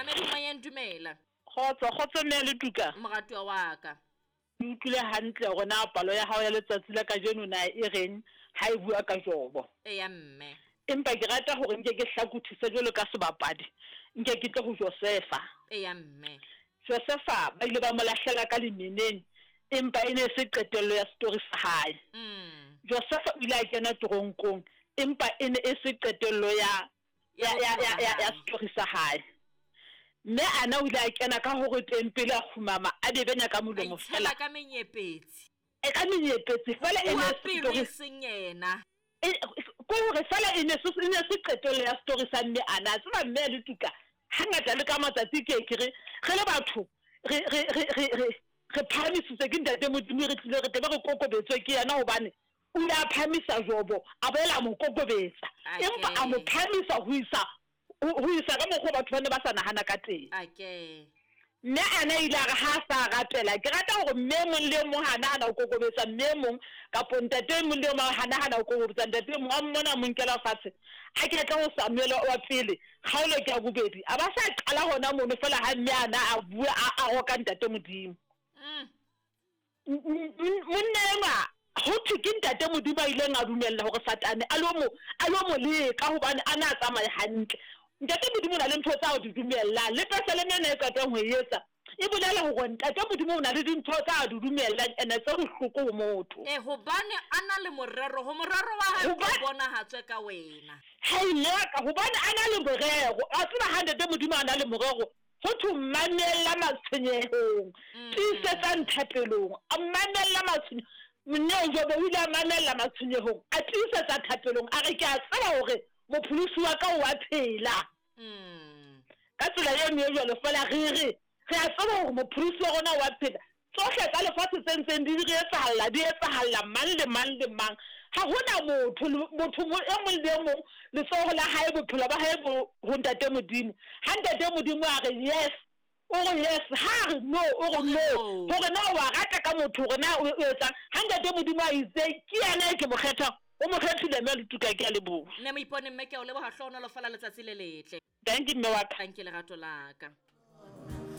Momamedi moyeng, dumela. Kgotso, kgotso mme le tuka. Moratuwa wa ka. Ke utlwile hantle hore na palo ya hao ya letsatsi la kajeno na e reng ha e bua ka Jobo. Eya mme. Empa ke rata hore nke ke hlakothise jwalo ka sebapadi, nke ke tle ho Josefa. Eya mme. Josefa ba ile ba mo lahlela ka lemeneng, empa e ne e se qetello ya setori sa hae. Josefa o ile a kena teronkong, empa e ne e se qetello ya ya ya ya ya ya setori sa hae. Mme Ana o ile a kena ka hore tempele a kgumama a bebenya ka molomo fela. ka menyepetsi. E ka menyepetsi fela e ne pelo e seng yena. E, ko hore fela e ne se e ne se qetello ya setori sa mme Ana. A tseba mme le tuka hangata le ka matsatsi ke ke re re le batho re re re re re re phahamisitswe ke ntate Modimo re tlile re tlebe re kokobetswe ke yena hobane O ile a phahamisa Jobo, a boela a mo kokobetsa, empa a mo phahamisa ho isa ho isa ka mokgwa batho ba ne ba sa nahana ka teng. Mme Ana ile a re ha a sa rapela, ke rata hore mme e mong le e mong ha nahana ho kokobetsa mme e mong kapo ntate e mong le e mong ha nahana ho kokobetsa ntate e mong, a mmona a mo nkela fatshe, a ke tle ho Samuele wa pele, kgaolo ke ya bobedi, a ba sa qala hona mono feela ha mme Ana a bua a roka ntate Modimo. Monna enwa ho thwe ke ntate Modimo a ileng a dumella hore Satane a lo mo a lo mo leka hobane a na tsamaye hantle. Ntate Modimo o na le ntho tsa o di dumellang. Le pesaleme ena e qetang ho e etsa e bolela hore ntate Modimo o na le dintho tsa a di dumellang ene tse bohloko ho motho. E, hobane a na le morero, ho morero wa hae o bonahatswe ka wena. Hei mme wa ka, hobane a na le morero. Wa tseba ha ntate Modimo a na le morero, Ho thwe mamella matshwenyehong, tiisetsang thapelong. A mamella matshwenye Monna Jobo o ile a mamella matshwenyehong, a tiisetsa thapelong, a re, Ke a tseba hore Mopholosi wa ka o a phela. Ka tsela eno e jwalo feela re re, re a tseba hore Mopholosi wa rona o a phela. Tsohle tsa lefatshe tse ntseng di re etsahalla, di etsahalla mang le mang le mang. Ha ho na motho, motho e mong le e mong, letsoho la hae, bophelo ba hae bo ho Ntate Modimo. Ha Ntate Modimo a re yes, o re yes. Ha a re no, o re no. Hore na wa rata ka motho, hore na o etsang. Ha Ntate Modimo a itse, ke yena e ke mo kgethang, o mo kgethile mme Letuka, ke a leboha. Mme Moipone, mme ke a o leboha, hlohonolofala letsatsi le letle. Dankie mme wa ka. Dankie lerato la ka.